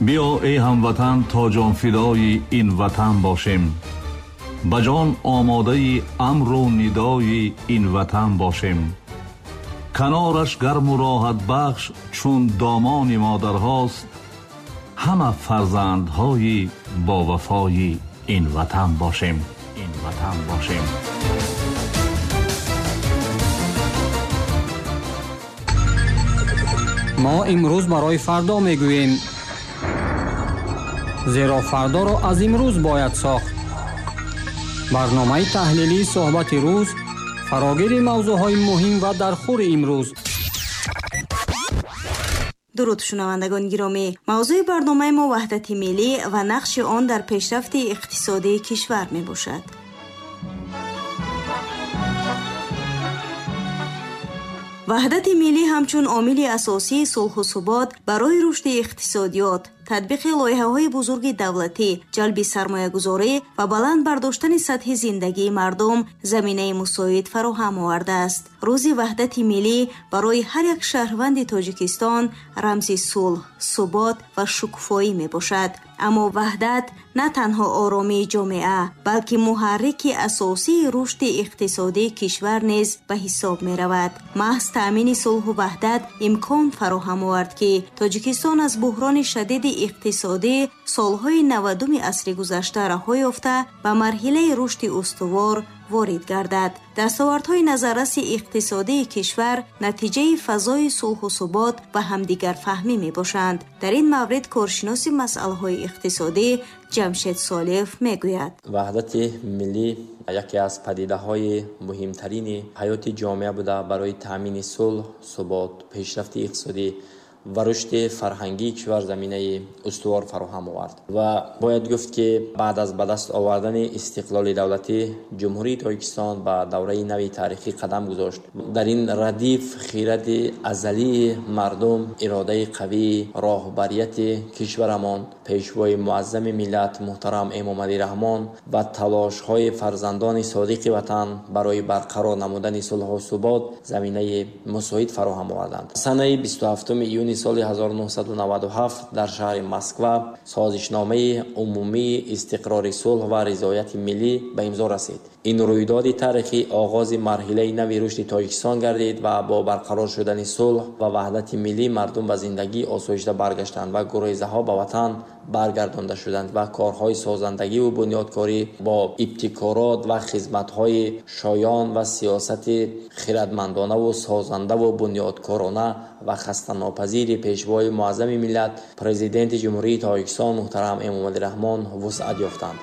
Биё эй ҳамватан, то ҷонфидои ин ватан бошем, ба ҷон омодаи амру нидои ин ватан бошем. Канораш гарму роҳатбахш чун домони модарҳост, ҳама фарзандҳои бовафои ин ватан бошем, ин ватан бошем. Мо имрӯз барои фардо мегӯем, зеро фардоро аз имрӯз бояд сохт. Барномаи таҳлилии суҳбати рӯз, фарогири мавзӯъҳои муҳим ва дархӯри имрӯз. Дуруд, шунавандагони гиромӣ. Мавзӯи барномаи мо ваҳдати миллӣ ва нақши он дар пешрафти иқтисодии кишвар мебошад. Ваҳдати миллӣ ҳамчун омили асосии сулҳу субот барои рушди иқтисодиёт, татбиқи лоиҳаҳои бузурги давлатӣ, ҷалби сармоягузорӣ ва баланд бардоштани сатҳи зиндагии мардум заминаи мусоид фароҳам овардааст. Рӯзи ваҳдати миллӣ барои ҳар як шаҳрванди Тоҷикистон рамзи сулҳ, субот ва шукуфоӣ мебошад. Аммо ваҳдат на танҳо оромии ҷомеа, балки муҳаррики асосии рушди иқтисодии кишвар низ ба ҳисоб меравад. Маҳз таъмини сулҳу ваҳдат имкон фароҳам овард, ки Тоҷикистон аз буҳрони шадиди иқтисодӣ солҳои 90-уми асри гузашта раҳо ёфта, ба марҳилаи рушди устувор ворид гардад. Дастовардҳои назарраси иқтисодии кишвар натиҷаи фазои сулҳу субот ва ҳамдигарфаҳмӣ мебошанд. Дар ин маврид коршиноси масъалаҳои иқтисодӣ Ҷамшед Солиев мегӯяд: ваҳдати миллӣ яке аз падидаҳои муҳимтарини ҳаёти ҷомеа буда, барои таъмини сулҳ, субот, пешрафти иқтисодӣ ва рушди фарҳангии кишвар заминаи устувор фароҳам овард. Ва бояд гуфт, ки баъд аз ба даст овардани истиқлоли давлатӣ Ҷумҳурии Тоҷикистон ба давраи нави таърихӣ қадам гузошт. Дар ин радиф хиради азалии мардум, иродаи қавии роҳбарияти кишварамон, пешвои муаззами миллат муҳтарам Эмомалӣ Раҳмон ва талошҳои фарзандони содиқи ватан барои барқарор намудани сулҳу субот заминаи мусоид фароҳам оварданд. Санаи 27 июни соли 1997 дар шаҳри Москва созишномаи умумии истиқрори сулҳ ва ризояти миллӣ ба имзо расид. Ин рӯйдоди таърихӣ оғози марҳилаи нави рушди Тоҷикистон гардид ва бо барқарор шудани сулҳ ва ваҳдати миллӣ мардум ба зиндагии осоишта баргаштанд ва гурезаҳо ба ватан баргардонда шуданд ва корҳои созандагиву бунёдкорӣ бо ибтикорот ва хизматҳои шоён ва сиёсати хирадмандонаву созандаву бунёдкорона ва хастанопазири пешвои муаззами миллат, президенти Ҷумҳурии Тоҷикистон муҳтарам Эмомалӣ Раҳмон вусъат ёфтанд.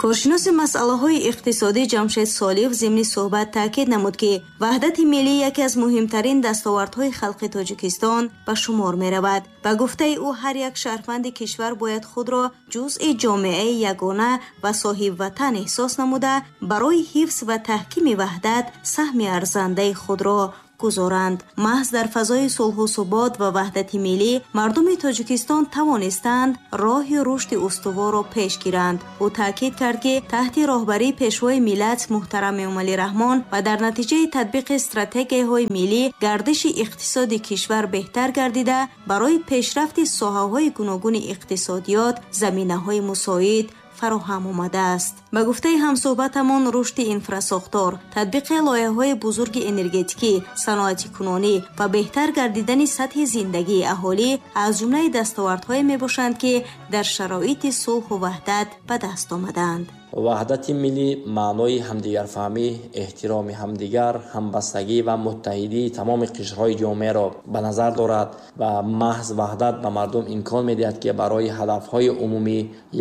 Коршиноси масъалаҳои иқтисодӣ Ҷамшед Солиев зимни суҳбат таъкид намуд, ки ваҳдати миллӣ яке аз муҳимтарин дастовардҳои халқи Тоҷикистон ба шумор меравад. Ба гуфтаи ӯ, ҳар як шаҳрванди кишвар бояд худро ҷузъи ҷомеаи ягона ва соҳибватан эҳсос намуда, барои ҳифз ва таҳкими ваҳдат саҳми арзандаи худро гузоранд. Маҳз дар фазои сулҳу субот ва ваҳдати миллӣ мардуми Тоҷикистон тавонистанд роҳи рушди устуворро пеш гиранд. Ӯ таъкид кард, ки таҳти роҳбарии пешвои миллат муҳтарам Эмомалӣ Раҳмон ва дар натиҷаи татбиқи стратегияҳои миллӣ гардиши иқтисоди кишвар беҳтар гардида, барои пешрафти соҳаҳои гуногуни иқтисодиёт заминаҳои мусоид фароҳам омадааст. Ба гуфтаи ҳамсӯҳбатамон, рушди инфрасохтор, татбиқи лоиҳаҳои бузурги энергетикӣ, саноатикунонӣ ва беҳтар гардидани сатҳи зиндагии аҳолӣ аз ҷумлаи дастовардҳое мебошанд, ки дар шароити сулҳу ваҳдат ба даст омадаанд. Ваҳдати миллӣ маънои ҳамдигарфаҳмӣ, эҳтироми ҳамдигар, ҳамбастагӣ ва муттаҳидии тамоми қишрҳои ҷомеаро ба назар дорад ва маҳз ваҳдат ба мардум имкон медиҳад, ки барои ҳадафҳои умумӣ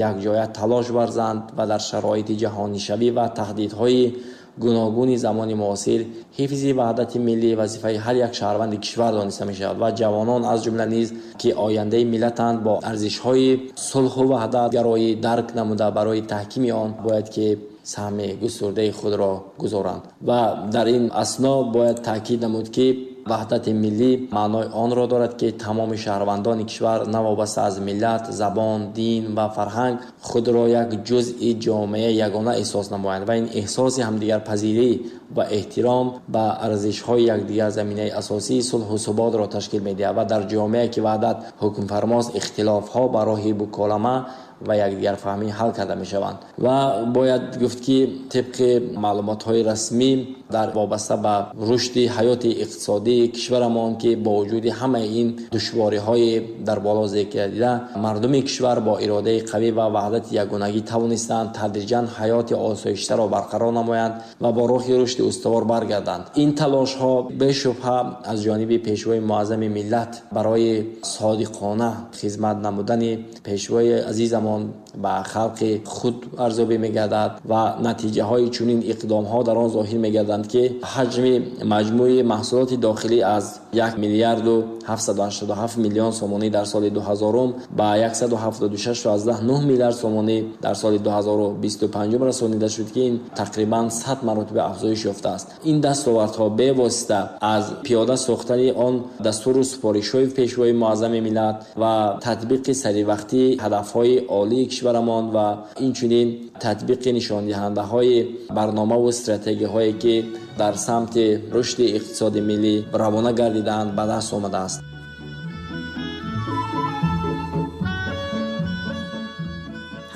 якҷоя талош варзанд ва дар шароити ҷаҳонишавӣ ва таҳдидҳои гуногуни замони муосир ҳифзи ваҳдати миллӣ вазифаи ҳар як шаҳрванди кишвар дониста мешавад ва ҷавонон аз ҷумла низ, ки ояндаи миллатанд, бо арзишҳои сулҳу ваҳдатгароӣ дарк намуда барои таҳкими он бояд ки саҳми густурдаи худро гузоранд. Ва дар ин асно бояд таъкид намуд, ки Ваҳдати миллӣ маънои онро дорад, ки тамоми шаҳрвандони кишвар новобаста аз миллат, забон, дин ва фарҳанг худро як ҷузъи ҷомеаи ягона эҳсос намоянд ва ин эҳсоси ҳамдигарпазирӣ ва эҳтиром ба арзишҳои якдигар заминаи асосии сулҳу суботро ташкил медиҳад ва дар ҷомеае ки ваҳдат ҳукмфармост, ихтилофҳо ба роҳи муколама ва якдигарфаҳмӣ ҳал карда мешаванд. Ва бояд гуфт, ки тибқи маълумотҳои расмӣ дар вобаста ба рушди ҳаёти иқтисодии кишварамон, ки бо вуҷуди ҳамаи ин душвориҳои дар боло зикр гардида, мардуми кишвар бо иродаи қавӣ ва ваҳдати ягонагӣ тавонистанд тадриҷан ҳаёти осоиштаро барқарор намоянд ва бо роҳи рушди устувор баргарданд. Ин талошҳо бешубҳа аз ҷониби Пешвои муаззами миллат барои содиқона хизмат намудани Пешвои азизамон ба халқи худ арзёбӣ мегардад ва натиҷаҳои чунин иқдомҳо дар он зоҳир мегарданд, ки ҳаҷми маҷмӯи маҳсулоти дохилӣ аз 1 миллиарду 787 миллион сомонӣ дар соли 2000 ба 176,9 миллиард сомонӣ дар соли 2025 расонида шуд, ки ин тақрибан 100 маротиба афзоиш ёфтааст. Ин дастовардҳо бевосита аз пиёда сохтани он дастуру супоришҳои Пешвои муаззами миллат ва татбиқи саривақтии ҳадафҳои олии кишварамон ва инчунин татбиқи нишондиҳандаҳои барномаву стратегияҳое, ки дар самти рушди иқтисоди миллӣ равона гардидаанд, ба даст омадааст.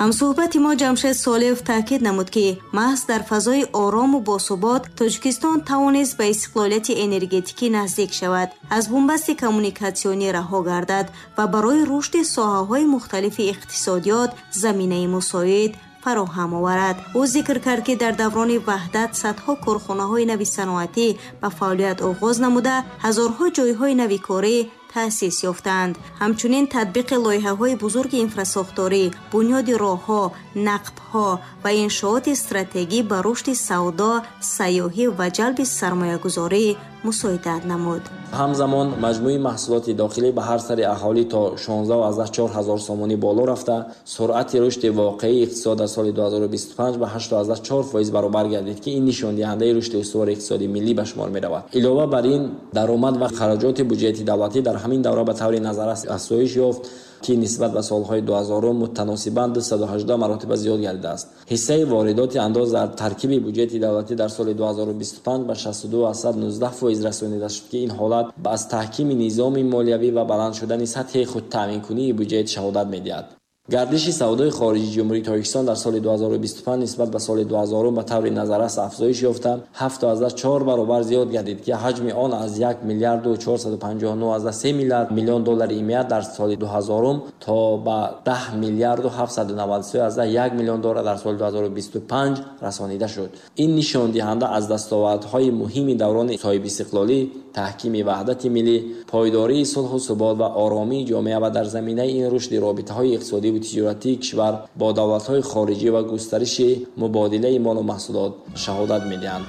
Ҳамсӯҳбати мо Ҷамшед Солиев таъкид намуд, ки маҳз дар фазои орому босубот Тоҷикистон тавонист ба истиқлолияти энергетикӣ наздик шавад, аз бунбасти коммуникатсионӣ раҳо гардад ва барои рушди соҳаҳои мухталифи иқтисодиёт заминаи мусоид фароҳам оварад. Ӯ зикр кард, ки дар даврони ваҳдат садҳо корхонаҳои нави саноатӣ ба фаъолият оғоз намуда, ҳазорҳо ҷойҳои нави корӣ таъсис ёфтаанд. Ҳамчунин татбиқи лоиҳаҳои бузурги инфрасохторӣ, бунёди роҳҳо, нақбҳо ва иншооти стратегӣ ба рушди савдо, сайёҳӣ ва ҷалби сармоягузорӣ мусоидат намуд. Ҳамзамон маҷмӯи маҳсулоти дохилӣ ба ҳар сари аҳолӣ то 16,4 ҳазор сомонӣ боло рафта, суръати рушди воқеии иқтисод дар соли 2025 ба 8,4% баробар гардид, ки ин нишондиҳандаи рушди устувори иқтисоди миллӣ ба шумор меравад. Илова бар ин, даромад ва хароҷоти буҷети давлатӣ дар ҳамин давра ба таври назаррас афзоиш ёфт, ки нисбат ба солҳои 2000 мутаносибан 218 маротиба зиёд гардидааст. Ҳиссаи воридоти андоз дар таркиби буҷети давлатӣ дар соли 2025 ба 62,19% расонида шуд, ки ин ҳолат аз таҳкими низоми молиявӣ ва баланд шудани сатҳи худтаъминкунии буҷет шаҳодат медиҳад. Гардиши савдои хориҷии Ҷумҳурии Тоҷикистон дар соли 2025 нисбат ба соли 2000 ба таври назаррас афзоиш ёфта, 7,4 баробар зиёд гардид, ки ҳаҷми он аз 1 миллиарду 459,3 миллиард миллион доллари имия дар соли 2000 то ба 10 миллиарду 793,1 миллион доллар дар соли 2025 расонида шуд. Ин нишондиҳанда аз дастовардҳои муҳими даврони соҳибистиқлолӣ, таҳкими ваҳдати миллӣ, пойдории сулҳу субот ва оромии ҷомеа ва дар заминаи ин рушди робитаҳои иқтисодӣ ва тиҷоратии кишвар бо давлатҳои хориҷӣ ва густариши мубодилаи молу маҳсулот шаҳодат медиҳанд.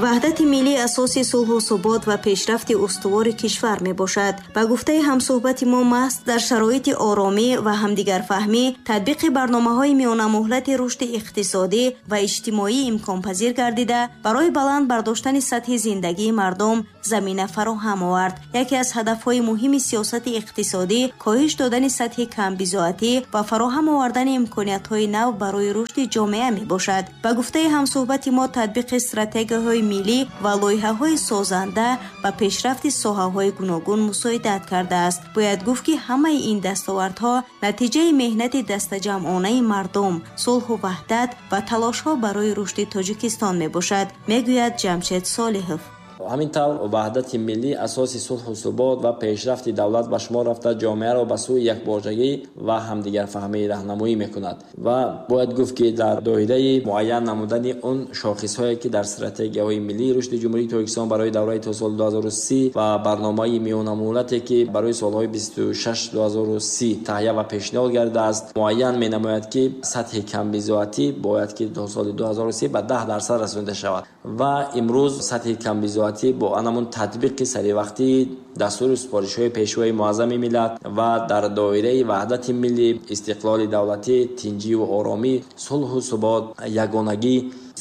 Ваҳдати миллӣ асоси сулҳу субот ва пешрафти устувори кишвар мебошад. Ба гуфтаи ҳамсӯҳбати мо, маҳз дар шароити оромӣ ва ҳамдигарфаҳмӣ татбиқи барномаҳои миёнамуҳлати рушди иқтисодӣ ва иҷтимоӣ имконпазир гардида, барои баланд бардоштани сатҳи зиндагии мардум замина фароҳам овард. Яке аз ҳадафҳои муҳими сиёсати иқтисодӣ коҳиш додани сатҳи камбизоатӣ ва фароҳам овардани имкониятҳои нав барои рушди ҷомеа мебошад. Ба гуфтаи ҳамсӯҳбати мо, татбиқи стратегияҳои миллӣ ва лоиҳаҳои созанда ба пешрафти соҳаҳои гуногун мусоидат кардааст. Бояд гуфт, ки ҳамаи ин дастовардҳо натиҷаи меҳнати дастаҷамъонаи мардум, сулҳу ваҳдат ва талошҳо барои рушди Тоҷикистон мебошад, мегӯяд Ҷамшед Солиҳов. Ҳамин тавр, ваҳдати миллӣ асоси сулҳу субот ва пешрафти давлат ба шумор рафта, ҷомеаро ба сӯи якборчагӣ ва ҳамдигарфаҳмӣ раҳнамоӣ мекунад. Ва бояд гуфт, ки дар доираи муайян намудани он шохисҳое, ки дар стратегияҳои миллии рушди Ҷумҳурии Тоҷикистон барои давраи то соли 2030 ва барномаи миёнамуҳлате, ки барои солҳои 26-2030 таҳия ва пешниҳод гардидааст, муайян менамояд, ки сатҳи камбизоатӣ бояд ки то соли 2030 ба 10% расонида шавад. Ва имрӯз сатҳи камбизоатӣ Камбизоатӣ бо анамун татбиқи саривақтии дастуру супоришҳои Пешвои Муаззами миллат ва дар доираи ваҳдати миллӣ, истиқлоли давлатӣ, тинҷиву оромӣ, сулҳу субот, ягонагӣ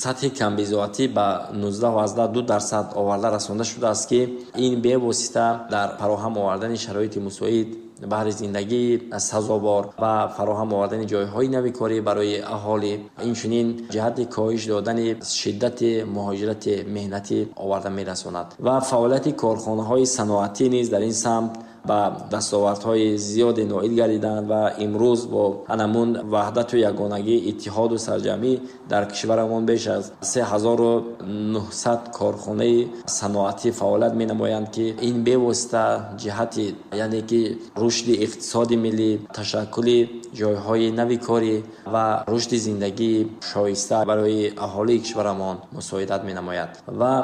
сатҳи камбизоатӣ ба 19,2% оварда расонда шудааст, ки ин бевосита дар фароҳам овардани шароити мусоид баҳри зиндагии сазовор ва фароҳам овардани ҷойҳои нави корӣ барои аҳолӣ, инчунин ҷиҳати коҳиш додани шиддати муҳоҷирати меҳнатӣ оварда мерасонад. Ва фаъолияти корхонаҳои саноатӣ низ дар ин самт ба дастовардҳои зиёде ноил гардиданд ва имрӯз бо анамун ваҳдату ягонагӣ, иттиҳоду сарҷамӣ дар кишварамон беш аз 3900 корхонаи саноатӣ фаъолият менамоянд, ки ин бевосита ҷиҳати, яъне ки рушди иқтисоди миллӣ, ташаккули ҷойҳои нави корӣ ва рушди зиндагии шоиста барои аҳолии кишварамон мусоидат менамояд. Ва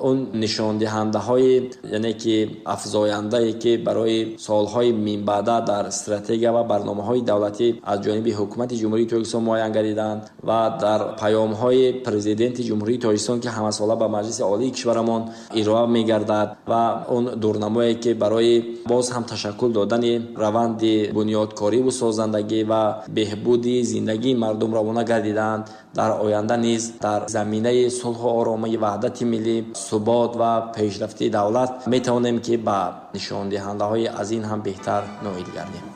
он нишондиҳандаҳои, яъне ки афзояндае, ки барои солҳои минбаъда дар стратегия ва барномаҳои давлатӣ аз ҷониби Ҳукумати Ҷумҳурии Тоҷикистон муайян гардиданд ва дар паёмҳои Президенти Ҷумҳурии Тоҷикистон, ки ҳамасола ба Маҷлиси Олии кишварамон ироа мегардад, ва он дурнамое, ки барои боз ҳам ташаккул додани раванди бунёдкориву созандагӣ ва беҳбуди зиндагии мардум равона гардиданд, дар оянда низ дар заминаи сулҳу оромӣ, ваҳдати миллӣ, субот ва пешрафти давлат метавонем, ки ба нишондиҳандаҳои аз ин ҳам беҳтар ноил гардем.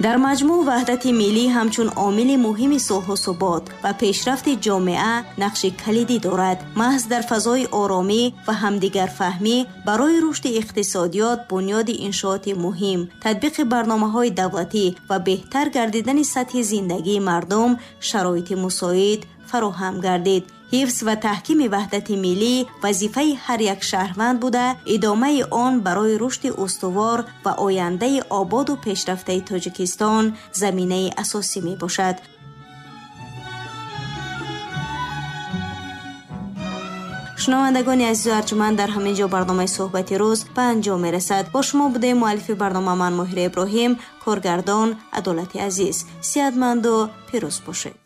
Дар маҷмӯъ ваҳдати миллӣ ҳамчун омили муҳими сулҳу субот ва пешрафти ҷомеа нақши калидӣ дорад. Маҳз дар фазои оромӣ ва ҳамдигарфаҳмӣ барои рушди иқтисодиёт, бунёди иншооти муҳим, татбиқи барномаҳои давлатӣ ва беҳтар гардидани сатҳи зиндагии мардум шароити мусоид фароҳам гардид. Ҳифз ва таҳкими ваҳдати миллӣ вазифаи ҳар як шаҳрванд буда, идомаи он барои рушди устувор ва ояндаи ободу пешрафтаи Тоҷикистон заминаи асосӣ мебошад. Шунавандагони азизу арҷуманд, дар ҳамин ҷо барномаи суҳбати рӯз ба анҷом мерасад. Бо шумо будем муаллифи барнома ман Моҳира Иброҳим, коргардон Адолати Азиз. Сиҳатманду пирӯз бошед.